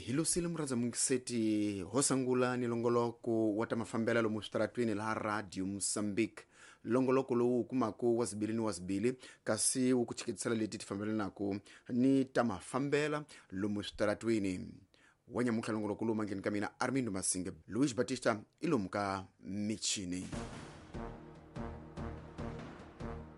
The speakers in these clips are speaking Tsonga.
Hi lusile murhandza mungiseti ho sangula ni longoloko wa ta mafambela lomu switaratwini laha Radio Mozambique. Longoloko lowu wu kumaku wa zibili ni wa zibili, kasi wu ku chiketisela leti ti fambelanaka ni ta mafambela lomu switaratwini. Wa nyamuntlha longoloko lowu mangheni ka mina Armindo Masinge, Luis Batista i lomu ka michini.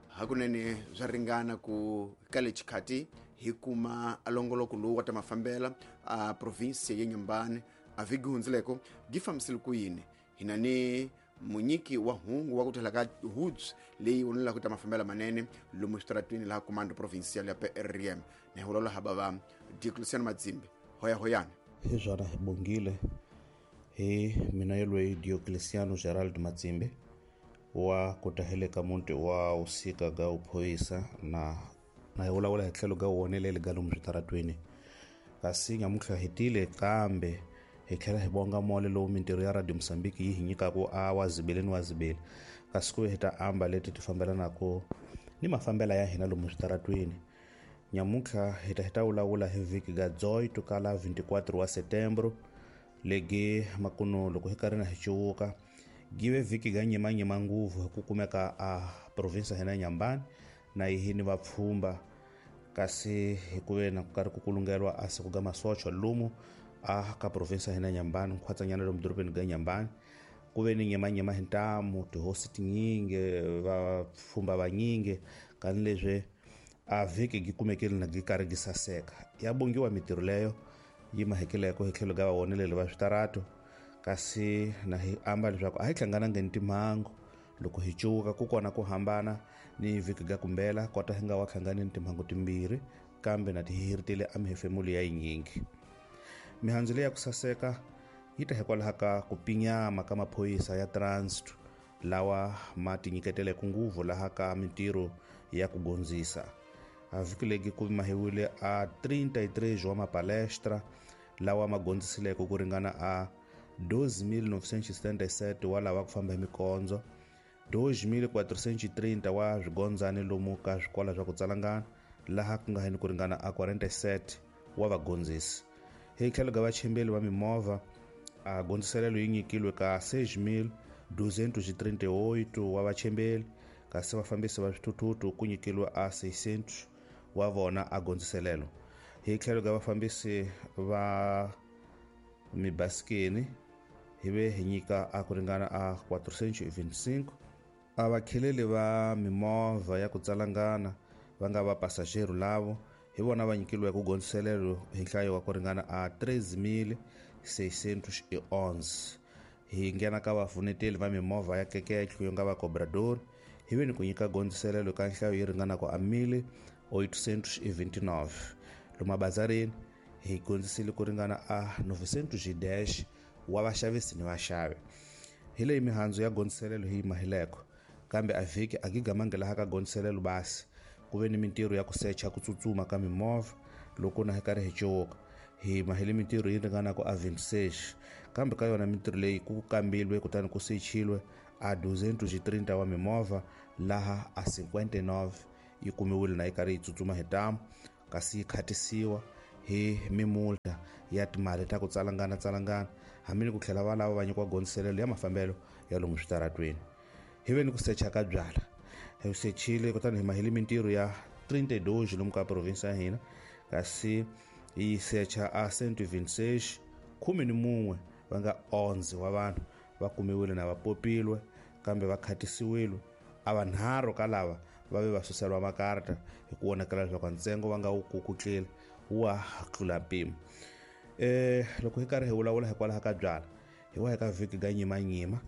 Hakunene swa ringana ku ka le xikhati hi kuma longoloko lowu wa ta mafambela a provinsia ya Nyambani. A vhiki hundzileko gi fambisile ku yini? Hina ni munyiki wa hungu wa ku tlhela ka hoods leyi vonelaka ta mafambela manene lomu switaratwini laha comando provincial ya PRM na hi vulavula hava va Diocleciano Madzimbi. Hoya hoyani. Hi swona, hi bongile hi mina yelweyi Diocleciano Gerald Matsimbi wa ku taheleka muti wa usika ga uphoyisa na hi vulavula hi tlhelo ga woneleli ga lomu switaratwini. Kasi nyamuntlha hi tile kambe hi tlhela hi bonga mole lowu mintirho ya Radio Mozambique yi hi nyikaku a wa zibele ni wa zibele, kasi ku hi ta amba leti ti fambelanaka ni mafambela ya hina lomu switaratwini. Nyamuntlha hi ta vulavula hi vhiki ga 18 kala 24 wa setembro legi makuno loko hi karhi na hi cuwuka give vhiki ga nyimanyima nguvu hi ku kumeka a provinsa hina Nyambani na yihi ni vapfhumba, kasi hi ku ve na ku karhi ku kulungelwa a siku ga masocha lomu a ka provinsa hina Nyambani nkhwatsanyana lomu dorobeni ga Nyambani. Ku ve ni nyimanyima hi ntamu, tihosi tinyingi, vapfhumba vanyingi, kani leswi a vhiki gi kumekile na gi karhi gi saseka. Ya bongiwa mintirho leyo yi mahekeleko hi tlhelo ga vawoneleli va switarato, kasi na hi amba leswaku a hi hlangananga ni timhangu loko hi cuka ku kona ku hambana ni vhiki ga kumbela kota hi nga wa hlangani ni timhangu timbirhi, kambe na ti hiritile a mihefemulo ya yinyingi. Mihandzu leyi ya ku saseka yi ta hikwalaho ka ku pinyama ka maphorisa ya transit lawa ma tinyiketeleke nguvu laha ka mintirho ya ku gondzisa. A vhiki legi ku mahiwile a 33 wa mapalestra lawa ma gondzisileke ku ringana a 12,977 wa lava ku famba hi mikondzo, 2,430 wa swigondzani lomu ka swikola swa ku tsalangana laha ku nga heni ku ringana a 47 wa vagondzisi. Hi tlhelo ga vachimbeli va mimovha a gondziselelo yi nyikilwe ka 6,238 wa vachimbeli, kasi vafambisi va swithuthuthu ku nyikilwe a 600 wa vona a gondziselelo. Hi tlhelo ga vafambisi va mibasikeni hi ve hi nyika a ku ringana a 425. A vakheleli va mimovha ya ku tsalangana va nga va passageiro lavo hi vona va nyikilwe ku gondziselelo hi nhlayo wa ku ringana a 3611. Hi nghena ka vafuneteli va mimovha ya keketlo yo nga va cobrador, hi ve ni ku nyika gondziselelo ka nhlayo yi ringanaka a 1829. Lomu mabazarini hi gondzisile ku ringana a 910 wa vaxavisi ni vaxavi. Hi leyi mihandzu ya gondziselelo hi mahileko, kambe a vhiki a gigamangi laha ka gondziselelo basi ku ve ni mintirho ya ku secha ku tsutsuma ka mimovha loko na hi karhi hi cuwuka. Hi mahile mintirho yi ringanaka a 26, kambe ka yona mintirho leyi ku kambilwe kutani ku sechilwe a 230 wa mimovha laha a 59 yi kumiwile na yi karhi yi tsutsuma hi ntamu, kasi yi khatisiwa hi mimulta ya timali ta ku tsalangana tsalangana, hambi ni ku tlhela va lava va nyikiwa gondziselelo ya mafambelo ya lomu switaratweni. Hi ve ni ku secha ka byala, hi sechile kutani hi mahile mintirho ya 32 lomu ka provinsi ya hina, kasi hi secha a 126, 11 va nga 11 wa vanhu va kumiwile na va popilwe kambe va khatisiwile. A vanharhu ka lava va ve va suseriwa makarata hi ku vonakala leswaku ntsengo va nga wu kukutlile wa tlula mpimo. Loko hi karhi hi vulavula hikwalaho ka byala, hi wa hi ka vhiki ga nyimanyima.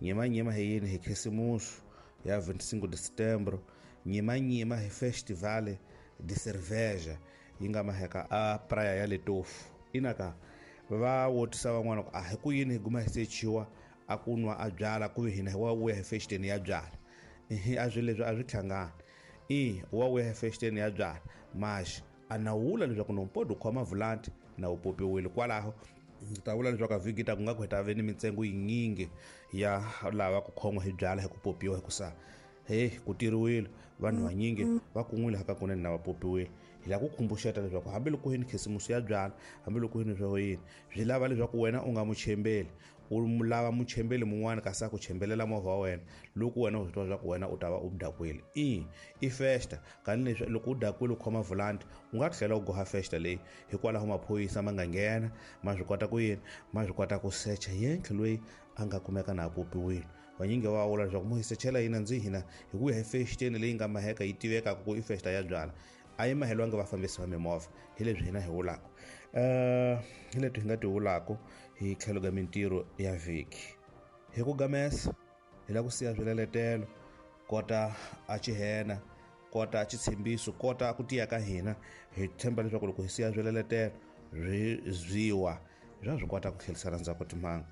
Nyimanyima hi yini? Hi khisimusi ya 25 de setembro. Nyimanyima hi festival de cerveja yi nga maheka a praia ya Letofu. Inaka va wotisa van'wana ku a hi ku yini hi guma hi sechiwa a ku nwa a byala ku ve hina hi wa vuya hi festeni ya byala. A swi leswi a swi hlangani. I wa vuya hi festeni ya byala maxi a na wula leswaku nompodi u khoma vulanti na wu popiwile kwalaho. Ndzi ta vula leswaku a vhiki ta ku nga ku hi ta ve ni mintsengo yinyingi ya lava ku khon'wa hi byala hi ku popiwa, hikusa he ku tiriwile vanhu vanyingi va kun'wile hakakunene na va popiwile. Hi lava ku khumbuxeta leswaku hambiloko yini khisimusi ya byala, hambiloko yini swa yini, swi lava leswaku wena u nga muchembeli, u lava muchembeli mun'wana kasi a ku chembelela movha wa wena loko wena u swi tiva leswaku wena u ta va u dakwile. I festa kani leswi loko u dakwile u khoma volanti u nga tlhela u goha festa leyi. Hikwalaho maphorisa ma nga nghena ma swi kota ku yini, ma swi kota ku secha yentlhe loyi a nga kumeka na a popiwile. Vanyingi va vula leswaku mo hi sechela yina ndzi hina hi ku ya hi fexiteni leyi nga maheka yi tivekaka ku i festa ya byala, a yi mahelwangi vafambisi va mimovha. Hi leswi hina hi vulaka, hi leswi hi nga ti vulaka hi tlhelo ka mintirho ya vhiki. Hi ku gamesa hi lava ku siya swileletelo kota a xihena, kota xitshembiso, kota ku tiya ka hina. Hi tshemba leswaku loko hi siya swileletelo swi zwiwa swa swi kota ku tlherisela ndzhaku timhaka.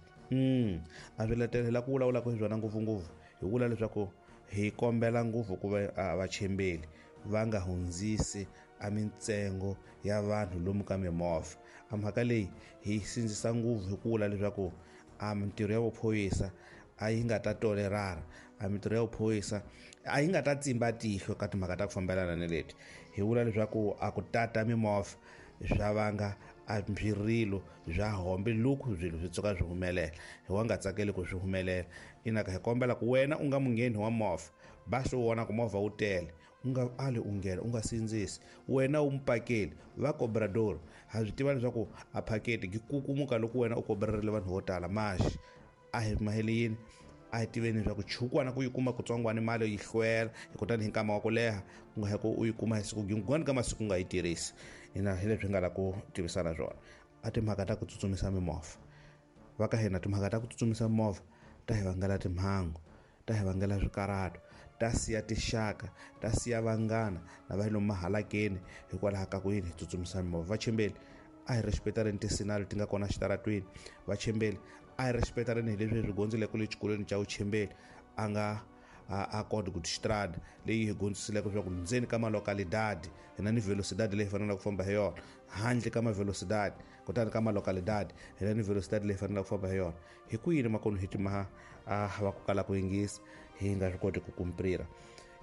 A swiletelo hi lava ku vulavulaka hi swona ngopfungopfu, hi vula leswaku hi kombela ngopfu ku va vachembeli va nga hundzisi a mintsengo ya vanhu lomu ka mimovha. A mhaka leyi hi sindzisa ngopfu hi ku vula leswaku a mintirho ya vuphorisa a yi nga ta tolerana, a mintirho ya vuphorisa a yi nga ta tsimba tihlo ka timhaka ta ku fambelana ni leti. Hi vula leswaku a ku tata mimovha swa vanga a swirilo swa hombe loko swilo swi tsuka swi humelela, hi wa nga tsakeli ku swi humelela. Inaka hi kombela ku wena u nga mungheni wa movha, ba swi vona ku movha wu tele, u nga ali u nghena, u nga sindzisi. Wena u mupakeli va cobrador, ha swi tiva leswaku a phaketi yi kukumuka loko wena u kobrarile vanhu vo tala. Maxi a hi mahele yini, a hi tiveni leswaku chukwana ku yi kuma kutsongwana mali yi hlwela, kutani hi nkama wa ku leha ku nga ku u yi kuma hi siku rin'wana ka masiku u nga yi tirhisi. Ina hi leswi hi nga lava ku tivisana swona. A timhaka ta ku tsutsumisa mimovha va ka hina, timhaka ta ku tsutsumisa mimovha ta hi vangela timhangu, ta hi vangela swikarhato, ta siya tixaka, ta siya vanghana na va lomu mahalakeni hikwalaho ka ku yini hi tsutsumisa mimovha. Vachembeli a hi respectareni tisinali ti nga kona xitaratweni. Vachembeli a hi respectareni hi leswi hi swi gondzeleke le xikolweni xa vuchembeli a nga a koti ku tistrada leyi hi gondzisileke leswaku ndzeni ka malokalidadi hi na ni velocidade leyi faneleke ku famba hi yona, handle ka mavelocidade kutani ka malokalidadi hi na ni velocidade leyi faneleke ku famba hi yona. Hi ku yini makonu hi timaha a va ku kala ku yingisa, hi nga swi koti ku kumprira.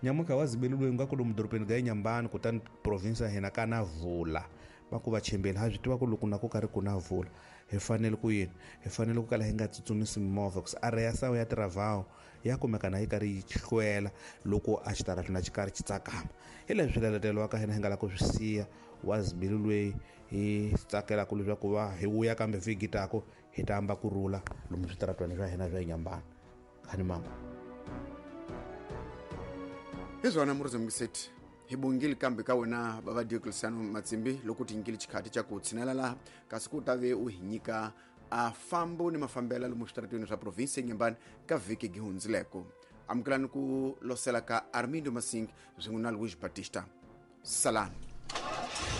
Nyamuka wa zibeli loyi nga ku lomu dorobeni ga Inhambane, kutani province ya hina ka na vula va ku vachembeli ha swi tiva ku loko na ku karhi ku na vula hi fanele ku yini, hi fanele ku kala hi nga tsutsumisi mimovha ku area ya sawu ya tiravhawu ya kumeka na yi karhi yi hlwela loko a xitaratini a xi karhi xi tsakama. Hi leswi swileletelo wa ka hina hi nga lava ku swi siya wa zibeli loyi hi tsakelaka leswaku va hi vuya kambe vhiki tako hi ta amba kurhula lomu switaratweni swa hina swa Inhambane. Khani mama hi swona murizamukiseti hi bongile kambe ka wena bava Diocleciano Matsimbi loko ti nyikile xikhati xa ku tshinela laha kasi ku ta ve u hi nyika a fambo ni mafambela lomu switaratweni swa provinsi ya Inhambane ka vhiki gi hundzileko. Amukelani ku losela ka Armindo Masing swin'we na Luis Batista. Salani.